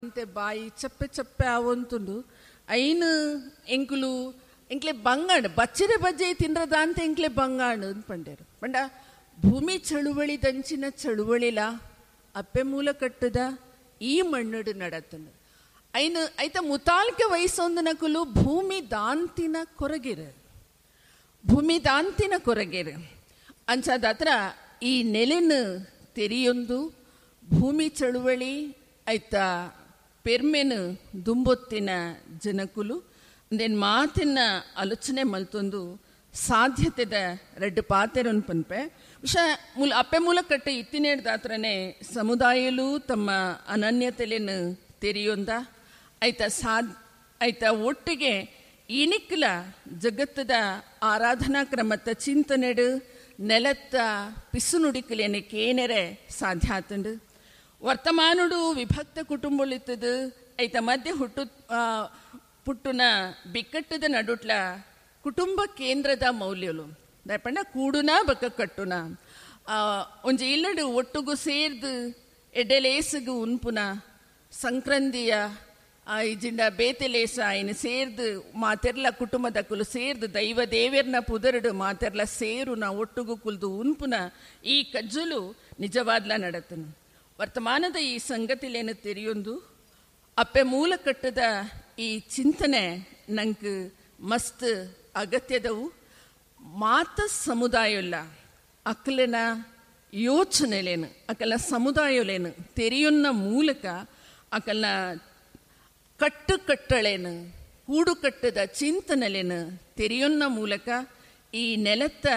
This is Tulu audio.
ಅಂತೆ ಬಾಯಿ ಚಪ್ಪೆ ಚಪ್ಪೆ ಆವೊಂತುಂಡು. ಐನ್ ಎಂಕುಲು ಎಂಕ್ಲೆ ಬಂಗಾಣ ಬಚ್ಚಿರೆ ಬಜ್ಜೆ ತಿನ್ರದ ಅಂತ ಎಂಕ್ಲೆ ಬಂಗಾಣ ಪಂಡೇರು. ಪಂಡ ಭೂಮಿ ಚಳುವಳಿ ದಂಚಿನ ಚಳುವಳಿಲ ಅಪ್ಪೆ ಮೂಲ ಕಟ್ಟದ ಈ ಮಣ್ಣುಡು ನಡತನು. ಐನು ಐತ ಮುತಾಲ್ಕೆ ವಯಸ್ಸೊಂದು ನಕುಲು ಭೂಮಿ ದಾಂತಿನ ಕೊರಗಿರು, ಭೂಮಿ ದಾಂತಿನ ಕೊರಗಿರು. ಅಂಚಾದಾತ್ರ ಈ ನೆಲೆನು ತೆರಿಯೊಂದು ಭೂಮಿ ಚಳುವಳಿ ಐತ ಪೆರ್ಮೆನು ದುಂಬೊತ್ತಿನ ಜನಕುಲು ಅಂದೇನ್ ಮಾತಿನ ಆಲೋಚನೆ ಮಲ್ತೊಂದು ಸಾಧ್ಯತೆದ ರಡ್ಡು ಪಾತೆರನ್ ಪನ್ಪೆ. ವಿಷ ಮೂಲ ಅಪ್ಪೆ ಮೂಲ ಕಟ್ಟೆ ಇತ್ತಿನೇಡ್ದಾತ್ರನೇ ಸಮುದಾಯಲು ತಮ್ಮ ಅನನ್ಯತೆಲೆನು ತೆರಿಯೊಂದ ಐತ ಐತ ಒಟ್ಟಿಗೆ ಇನಿಕ್ಲ ಜಗತ್ತದ ಆರಾಧನಾ ಕ್ರಮತ್ತ ಚಿಂತನೆಡು ನೆಲತ್ತ ಪಿಸುನುಡಿಕಲೇನೆ ಕೇನೆರೆ ಸಾಧ್ಯ ಆತಂಡು. ವರ್ತಮಾನುಡು ವಿಭಕ್ತ ಕುಟುಂಬಲಿತ್ತದು ಐತ ಮಧ್ಯೆ ಹುಟ್ಟು ಪುಟ್ಟುನ ಬಿಕ್ಕಟ್ಟದ ನಡುಟ್ಲ ಕುಟುಂಬ ಕೇಂದ್ರದ ಮೌಲ್ಯಲು ದಯಪಂಡ ಕೂಡುನ ಬಕ್ಕ ಕಟ್ಟುನ ಒಂಜಿ ಇಲ್ಲಡು ಒಟ್ಟುಗು ಸೇರ್ದು ಎಡ್ಡೆಲೇಸುಗು ಉನ್ಪುನ ಸಂಕ್ರಂದಿಯ ಇಜಿಂಡ ಬೇತೆಲೇಸ ಐನು ಸೇರ್ದು ಮಾತೆರ್ಲ ಕುಟುಂಬದ ಕುಲು ಸೇರ್ದು ದೈವ ದೇವೆರ್ನ ಪುದರುಡು ಮಾತೆರ್ಲ ಸೇರುನ ಒಟ್ಟುಗು ಕುಲ್ದು ಉನ್ಪುನ ಈ ಕಜ್ಜುಲು ನಿಜವಾದ್ಲ ನಡತನು. ವರ್ತಮಾನದ ಈ ಸಂಗತಿಲೇನು ತೆರಿಯೊಂದು ಅಪ್ಪೆ ಮೂಲ ಕಟ್ಟದ ಈ ಚಿಂತನೆ ನಂಗೆ ಮಸ್ತ್ ಅಗತ್ಯದವು. ಮಾತ ಸಮುದಾಯಲ್ಲ ಅಕ್ಕಲಿನ ಯೋಚನೆಲೇನು ಅಕಲ ಸಮುದಾಯಲೇನು ತೆರೆಯೊನ್ನ ಮೂಲಕ ಅಕಲ್ನ ಕಟ್ಟು ಕಟ್ಟಳೇನು ಕೂಡು ಕಟ್ಟದ ಚಿಂತನೆಲೇನು ತೆರೆಯೊನ್ನ ಮೂಲಕ ಈ ನೆಲತ್ತ